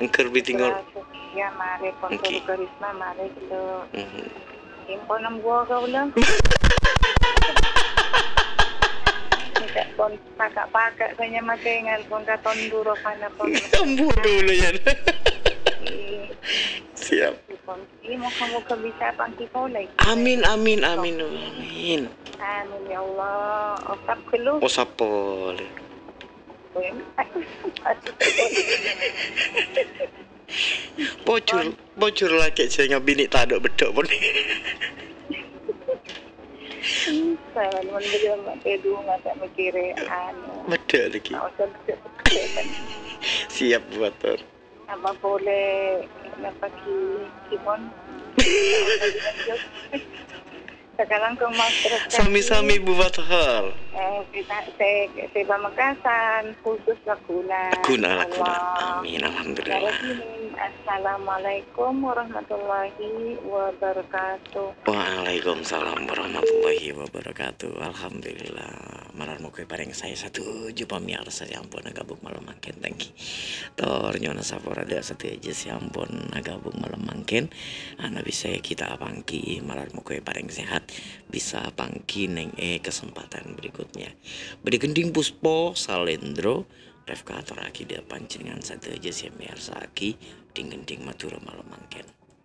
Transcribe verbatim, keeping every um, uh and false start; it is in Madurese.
Engker bi' tinggal. Ya, mare pon Nggih. Guru Karisma, mare gitu. Mhm. Impon nembuwa kaula. Minta pon paka-paka kanya make ngal pon katon duro kana pon. Ambu dulu ya. Iya. Siap. Pon. Iya, moga-moga bisa panggil pole. Amin, amin, amin, amin. Amin, ya Allah. Osap gelu. Osap pole. Bojur, bojur lagi saya ngabini tadok bedok pun. Sawan, mon beliau mate dulu, mate mikire, anu. Bedok lagi. Nggak usah bedok. Siap, Bu Atur. Apa boleh, napa ki, Simon? Sekarang ke Mas Terus. Sami-sami, Bu Fathar. Eh, kita, saya, saya Pamekasan, khusus Laguna. Laguna, Laguna. Allah. Amin, alhamdulillah. Assalamualaikum warahmatullahi wabarakatuh. Waalaikumsalam warahmatullahi wabarakatuh. Alhamdulillah. Malar moga pareng saè sadhâjâ pamèyarsa sè ampon aghâbung malem mangkèn. Thank you. Tor nyo'on sapora dâ' sadhâjâ sè ampon aghâbung malem mangkèn. Ana bisa kita pangghi, malar moga pareng sehat. Bisa pangghi neng è kesempatan berikutnya. Bâdhi ghândhing Puspo, Salendro, Refka atorraghi dâ' panjhennengngan sadhâjâ sè mèyarsa'aghi dhing-ghândhing Madhurâ malem mangkèn.